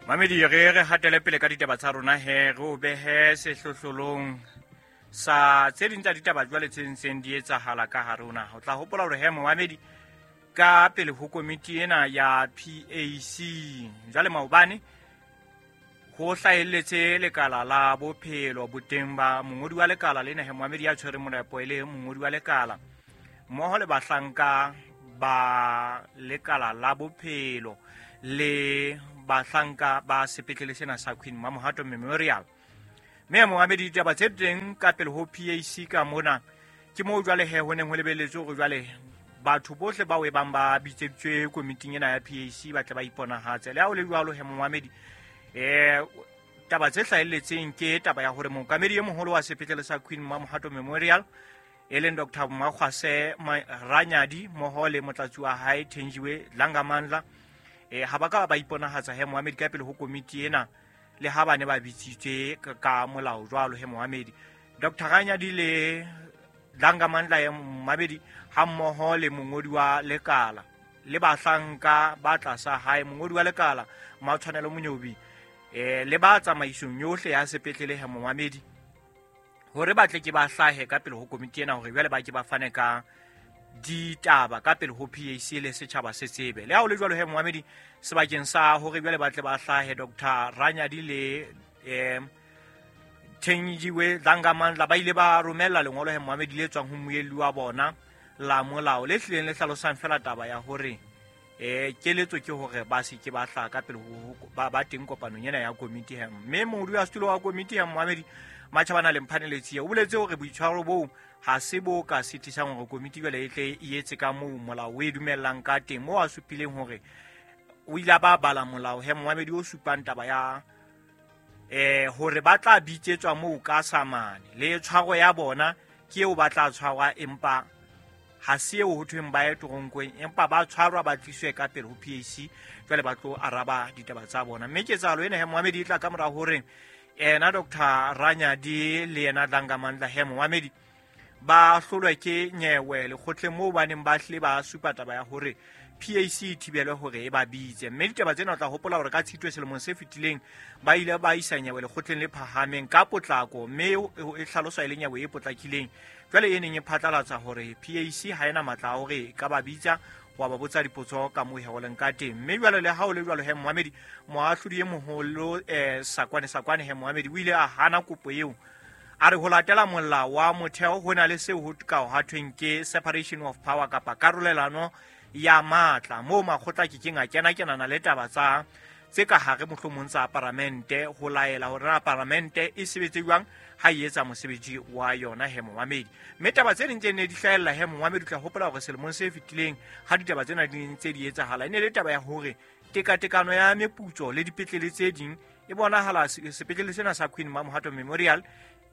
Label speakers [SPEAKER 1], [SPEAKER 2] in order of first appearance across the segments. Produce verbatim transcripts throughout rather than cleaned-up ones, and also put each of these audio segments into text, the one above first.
[SPEAKER 1] Mamedi re re hatele pele ka ditaba tsa rona he re o behe sehlohlolong sa tse ding tsa ditaba jwale tse ntseng di etsahala ka hare ho naha. O tla hopola hore he momamedi ka pele ho komiti ena ya P A C jwale maobane ho hlahelletse lekala la bophelo boteng ba mongodi wa lekala lena he momamedi ya tshwereng monepo e le mongodi wa lekala mmoho le bahlanka ba lekala la bophelo le bahlanka ba sepetlele sena sa Queen Mamohato Memorial. Mme momamedi ditaba tse teng ka pele ho P A C ka mona ke moo jwale he ho neng ho lebelletswe hore jwale batho bohle bao e bang ba bitseditswe komiting ena ya P A C ba tle ba iponahatse. Le ha ho le jwalo he momamedi eh taba tse hlahelletseng ke taba ya hore mookamedi e moholo wa sepetlele sa Queen Mamohato Memorial e leng Doctor Mmakgwase Ranyadi mmoho le motlatsi wa hae Thenjiwe Dlangamandla eh ha ba ka ba iponahatsa he momamedi ka pele ho komiti ena le ha ba ne ba bitsitswe ka molao jwalo he momamedi. Doctor Ranyadi le Dlangamandla ya momamedi ha mmoho le mongodi wa lekala le bahlanka ba tlasa hae mongodi wa lekala Matshwanelo Monyobi eh le ba tsamaisong yohle ya sepetlele he momamedi hore ba tle ke ba hlahe ka pele ho komiti ena hore jwale ba ke ba fane ka ditaba ka pele ho P A C le setjhaba se tsebe. Le ha ho le jwalo he momamedi sebakeng sa hore jwale ba tle ba hlahe Doctor Ranyadi le eh Thenjiwe Dlangamandla ba ile ba romella lengolo he momamedi le tswang ho mmuelli wa bona la molao le hlileng le hlalosang fela taba ya hore eh keletso ke hore ba se ke ba hlaha ka pele ho ba ba teng kopanong ena ya komiti he. Mme modudi wa setulo wa komiti he momamedi Matjhabana le Mphane Letsie o boletse hore boitshwaro boo ha se bo ka sitisang hore komiti jwale e tle e etse ka moo molao o e dumellang ka teng, moo a supileng hore o ile a ba bala molao he momamedi o supang taba ya eh hore ba tla bitsetswa moo ka samane le tshwaro ya bona ke eo ba tla tshwarwa, empa ha se eo ho thweng ba ye toronkong, empa ba tshwarwa ba tliswe ka pele ho P A C jwale ba tlo araba ditaba tsa bona. Mme ketsahalo ena he momamedi e tla ka mora hore ena Doctor Ranyadi le yena Dlangamandla he momamedi ba hlolwe ke nyewe lekgotleng moo ba neng ba hlile ba supa taba ya hore P A C e thibelwe hore e ba bitse. Mme ditaba tsena o tla hopola hore ka Tshitwe selemong se fetileng ba ile ba isa nyewe lekgotleng le phahameng ka potlako, mme e hlaloswa e le nyewe e potlakileng jwale e neng e phatlalatsa hore P A C ha ena matla a hore e ka ba bitsa wa ba botsa dipotso ka moo he leng ka teng. Mme jwale le ha o le jwalo he momamedi moahlodi e moholo eh Sakwane Sakwane he momamedi o ile a hana kopo eo a re ho latela molao wa motheo ho na le seo ho ka ha thweng ke separation of power kapa karolelano ya matla moo makgotla ke keng a kena kenana le taba tsa tse ka hare mohlomong tsa paramente ho laela hore na paramente e sebetse jwang ha e etsa mosebetsi wa yona he momamedi. Mme taba tse ding tse ne di hlahella he momamedi o tla hopola hore selemong se fetileng ha ditaba tsena di ntse di etsahala e ne le taba ya hore tekatekano ya meputso le dipetlele tse ding e bonahala sepetlele sena sa Queen Mamohato Memorial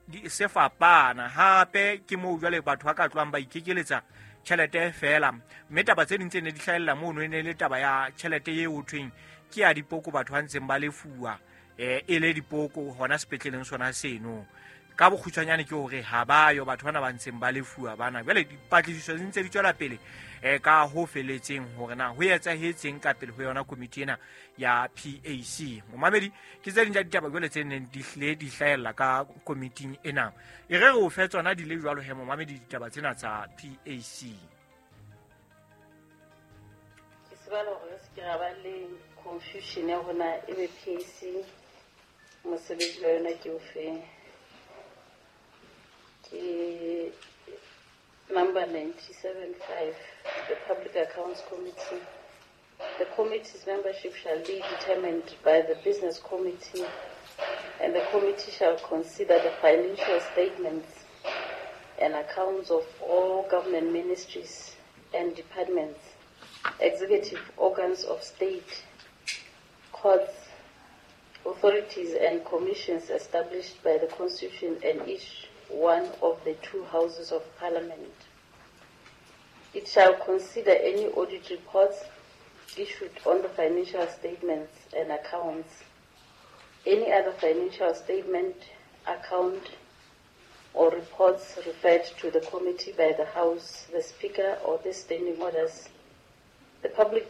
[SPEAKER 1] di se fapana. Hape ke moo jwale batho ba ka tlohang ba ikekeletsa tjhelete fela, mme taba tse ding tse ne di hlahella mono e ne le taba ya tjhelete eo ho thweng ke ya dipoko batho ba ntseng ba lefuwa eh e le dipoko hona sepetleleng sona seno. Ka bokgutshwanyane ke hore ha ba yo batho bana ba ntseng ba lefuwa bana. Jwale dipatlisiso di ntse di tswela pele eh ka ho feletseng hore na ho etsahetseng ka pele ho yona komiti ena ya P A C. Momamedi ke tse ding tsa ditaba jwale tse neng di hlile di hlahella ka komiting ena. E re re o fe tsona di le jwalo he momamedi ditaba tsena tsa P A C.
[SPEAKER 2] Ke tsebala hore re se ke ra ba le confusion ya hore na ebe P A C mosebetsi wa yona ke ofe. Ke number ninety-seven five, the Public Accounts Committee. The committee's membership shall be determined by the Business Committee, and the committee shall consider the financial statements and accounts of all government ministries and departments, executive organs of state, courts, authorities and commissions established by the Constitution and each one of the two houses of Parliament. It shall consider any audit reports issued on the financial statements and accounts, any other financial statement, account, or reports referred to the committee by the House, the Speaker, or the standing orders. The Public,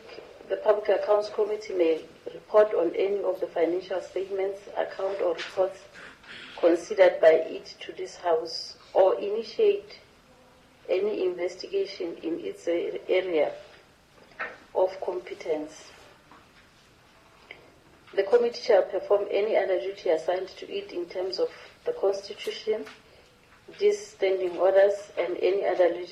[SPEAKER 2] the Public Accounts Committee may report on any of the financial statements, account or reports considered by it to this House, or initiate any investigation in its area of competence. The committee shall perform any other duty assigned to it in terms of the Constitution, these standing orders, and any other legislation